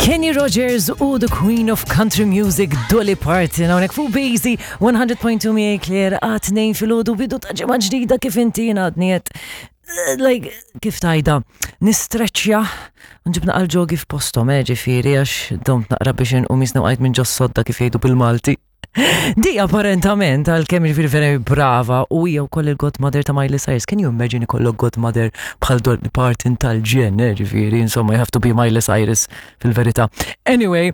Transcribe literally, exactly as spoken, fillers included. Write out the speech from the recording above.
Kenny Rogers u the Queen of Country Music, Dolly Parton, hawnhekk fuq Basie one hundred point two miegħi Claire, għat-tnejn filgħodu, bidu ta' ġimgħa ġdida. Kif inti għadni qed, like, kif tajda, nistreċja, nġib naqra l-ġogi f'postom, eh, ġifieri, għax domt naqra biex inqum, jisna għajt minn ġos-sodda, kif jgħidu bil-Malti. Di apparentament, għal-kemm ġifieri vera brava, u hija wkoll il-godmother ta' Miley Cyrus. Can you imagine ikollok godmother bħal Dolly Parton tal-ġen, eh, ġifieri, insomma, you have to be Miley Cyrus fil-verità. Anyway,